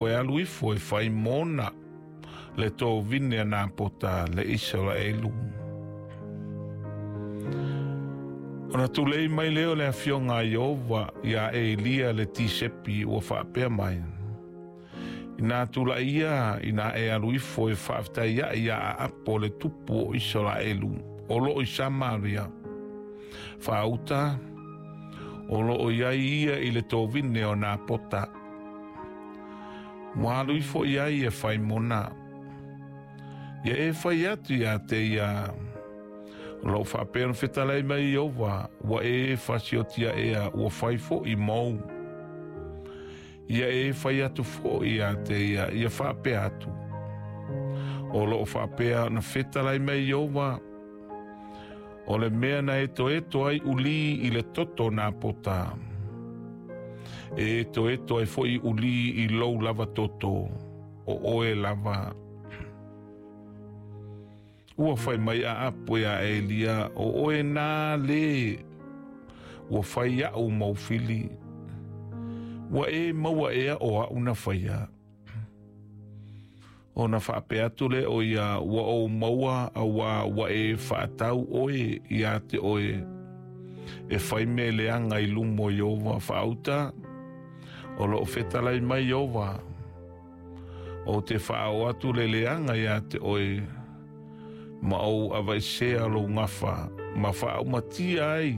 E alu ifo e fai mona le tovine a Napota le Isaraelu. Ona tulei mai lea o le afioga a Ieova iā Elia le Tisepi ua faapea mai, Inā tulai ia, inā e alu ifo e faafetai aʻe iā Aapo le tupu o Isaraelu o loo i Samaria, faauta o loo i ai ia i le tovine o Napota. Ua alu ifo i ai e fai mona. Ia e fai atu iā te ia, o loo faapea ona fetalai mai Ieova, ua e fasiotia ea ua fai foʻi mou. Ia e fai atu foʻi iā te ia, ia faapea atu, o loo faapea ona fetalai mai Ieova, o le mea na etoeto ai ulī i le toto o Napota, e etoeto ai foʻi ulī i lou lava toto, o oe lava. Ua fai mai Aapo iā Elia, o oe nā lē ua fai aʻu mau fili, ua e maua ea o aʻu na faia. Ona faapea atu lea o ia, ua ou maua auā ua e faatau oe iā te oe e fai mea leaga i luma o Ieova faauta, o loo fetalai mai Ieova, ou te faaoo atu le leaga iā te oe, ma ou avaesea lou gafa, ma faaumatia ai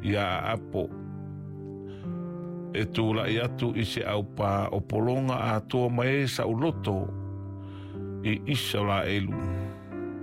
iā Aapo e tulai atu i se aupā o pologa atoa ma e saʻuloto i Isaraelu.